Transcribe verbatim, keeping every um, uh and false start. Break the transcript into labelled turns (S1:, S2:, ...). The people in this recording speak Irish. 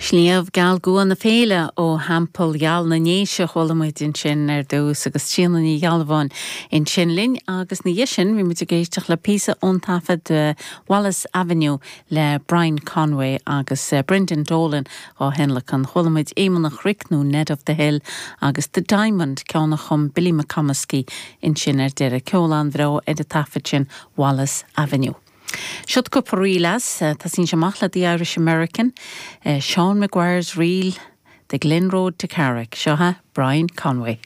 S1: Sliabh Geal Gua na Féile ó Theampall Gheal na nDéise chuala muid ansin ar dtús agus Tríona Ní Ghealbháin ansin linn agus ina dhiaidh sin bhí muid ag éisteacht le píosa ón taifead uh, Wallace Avenue le Brian Conway agus uh, Brendan Dolan á thionlacan chuala muid Éamonn an Chnoic nó Ned of the Hill agus The Diamond ceann a chum Billy McComiskey ansin ar deireadh ceol an-bhreá ar an taifead sin Wallace Avenue. Siod cúpla ríl as uh, tosaíonn sé amach le The Irish American, uh, Sean Maguire's Reel, The Glen Road to Carrick, seo Brian Conway.